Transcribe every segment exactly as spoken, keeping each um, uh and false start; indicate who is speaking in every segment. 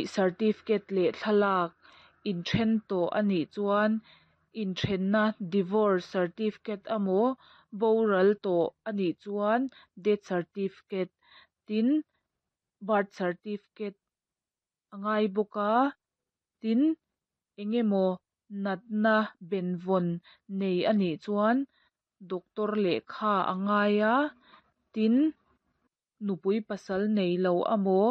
Speaker 1: Certificate leh thlalak inthen tawh a nih chuan inthenna divorce certificate emaw boral tawh a nih chuan death certificate tin birth certificate a ngai bawk a tin eng emaw natna benvawn nei a nih chuan doctor lehkha a ngai a tin nupui pasal neilo emaw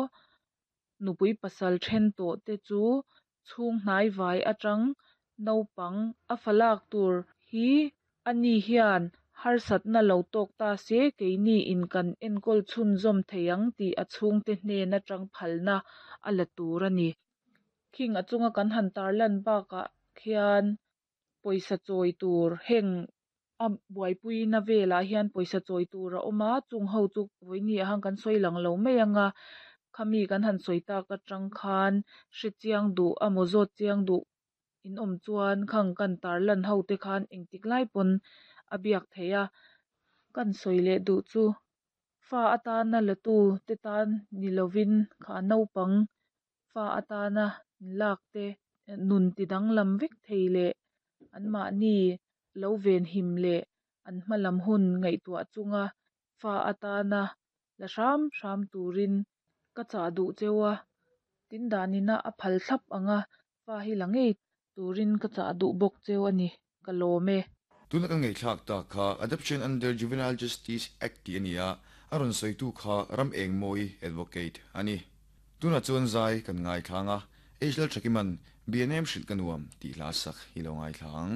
Speaker 1: nupui pasal then tawh te chu chhung hnai vai atang naupang a fa lak tur hi ani hian harsatna lo tawk ta se keini in kan enkawl chhunzawm thei ang tih a chhungte hnen atang phalna a la tur a ni khing a chunga kan han tarlan bakah khian pawisa chawi tur heng a buaipui na velah hian pawisa chawi tur a awm a chung ho chu vawiin ah hian kan sawi lang lo mai anga khami kan han sawi tak atang khan hrechiang duh emaw zawt chiang duh in awm chuan khang kan tarlan ho te khan engtik lai pawn a biak theih a kan sawi leh duh chu fa atana la tu te tan ni lovin kha naupang fa atana lak te nun ti danglam vek thei leh an mahni lo venhim leh an hma lam hun ngaihtuah chunga fa atana la hram hram turin ka chah duh cheu a tin danina a phal thlap anga fa hi la ngei turin ka chah duh bawk cheu a ni ka lawm e.
Speaker 2: Tuna kan ngaihthlak tak kha Adoption Under Juvenile Justice Act tih a ni a, a rawn sawitu kha Ram Engmawi Advocate a ni. Tuna chuan zai kan ngaithlang a, H L Thakiman B N M hrilh ka nuam tih hla sak hi lo ngaithla ang.